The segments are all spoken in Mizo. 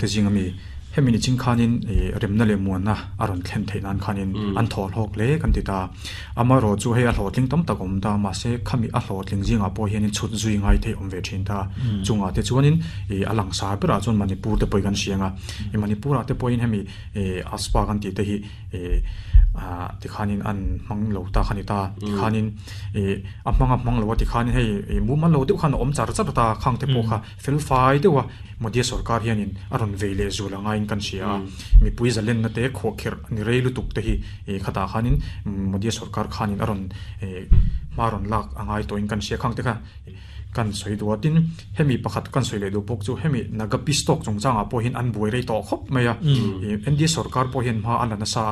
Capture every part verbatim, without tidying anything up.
te zinga mi hemi ni ching khanin remna le muana aron thlen theinan khanin an thol hok le kan ti ta amaro chu hei a hlotling tam tak om ta ma se khami a hlotling zinga po hianin chhut zui ngai thei om ve thin ta chunga te chuanin alang sa bera chuan Manipur te poi kan sianga e Manipur a te poin hemi aspa kan ti te hi a ti khanin an mang lo ta khani ta ti khanin e a manga mang lo ti khanin hei mu man lo deuh khan om char char ta khang te po kha fel fai dewa Modi sarkar hianin aron veile zula nga in kan sia mi pui zalen na te kho kher ni reilu tuk te hi khata khanin Modi sarkar khanin aron maron lak angai to in kan sia khang te kha kan soi duatin hemi pakhat kan soi le du pok chu hemi naga pistok chungchanga po hin an buai rei to khop maya N D sarkar po hin ma an na sa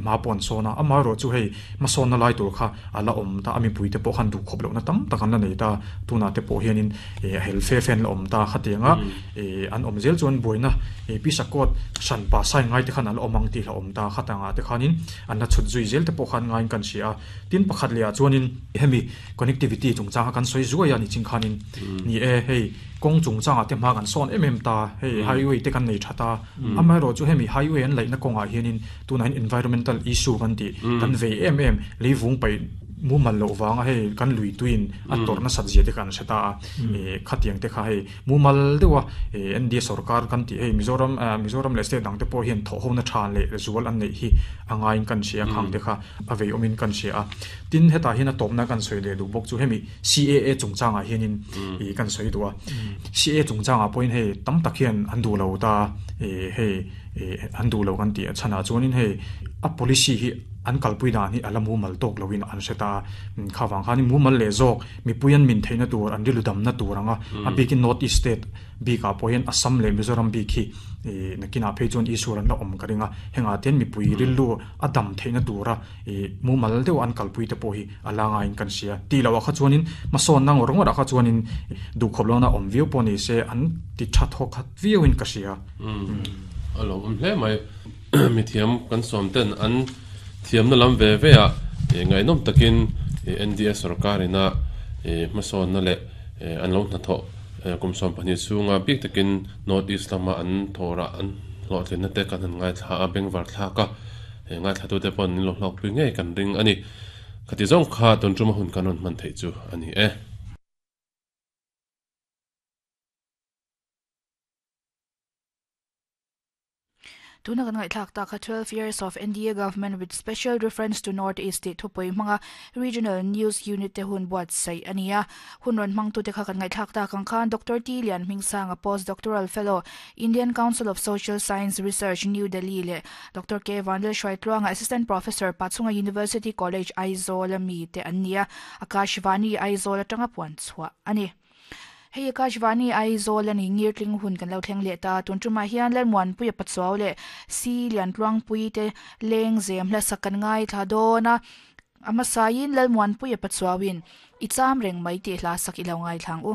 ma pon sona ama ro chu hei ma son na lai tur kha ala om ta ami puite po khan du khop lo na tam takan la nei ta tuna te po hianin hel fe fen la om ta khatianga an om zel chuan buaina pisakot san pa sai ngai te khan ala omang ti la om ta khatanga te khanin an na chut zui zel te po khan ngai kan sia tin pakhat le a chuanin hemi connectivity chungchanga kan soi zuaya ni ching khanin ni e hei kong chungchanga te ma kan son em em ta hei highway te kan nei thata amai ro chu hemi highway an laina konga hianin tunain environmental issue kan ti kan ve em em leivung pai mu mal lo wanga hei kan lui tuin a torna satjia te kan seta e khatiang te kha hei mu mal dewa N D sarkar kan ti hei Mizoram Mizoram le state dang te po hian tho ho na than le zual an nei hi angain kan sia khang te kha avei omin kan sia tin heta hin a topna kan soi le du bok chu hemi C A A chungchanga hianin e kan soi duwa C A chungchanga point hei tam tak hian an du lo ta e hei an du lo kan ti chana chuanin hei a policy hi an kalpui dan hi ala mu mal tok lowin an seta khawang khani mu mal le zok mi puyan min theina tur an riludam na turanga a bikin North East state bika pohen Assam le Mizoram bi khi nakina pheichon isuran la om karinga henga ten mi pui rilu adam theina tura e mu mal deu an kalpui te po hi ala nga in kan sia ti lawa kha chuanin mason nang rong ra kha chuanin du khoblona om viu poni se an ti tha tho khat viu in ka sia alo um hle mai mi thiam kan som ten an thiam na lam ve ve a ngai nom takin N D S sarkarina mason na le an lo na tho kum som pani chunga bik takin North East lama an thora an lo thlin na te kan ngai thla a bengvar thla ka ngai thla tu te pon lo hlok pui nge kan ring ani khati zong kha ton chuma hun kanon man thei chu ani e. Tuna kan ngai thlak ta kha twelve years of N D A government with special reference to North East state thupoi manga regional news unit te hun buat sai ania hun ron mang tu te kha kan ngai thlak ta kang khan Doctor T Lian Hmingsang a postdoctoral fellow Indian Council of Social Science Research New Delhi le Doctor K Vandal Shwaitluanga assistant professor Pachhunga University College Aizawl mi te ania Akashvani Aizawl atanga puan chhuah ani. Hei Akashvani Aizawl ani ngirtling hun kan lo thleng le ta tun tuma hian lalmuan pui pachuaw le si lian tluang pui te leng zem hla sakan ngai thla dona ama sain lalmuan pui pachuawin icham reng mai te hla sak ilo ngai thlang u.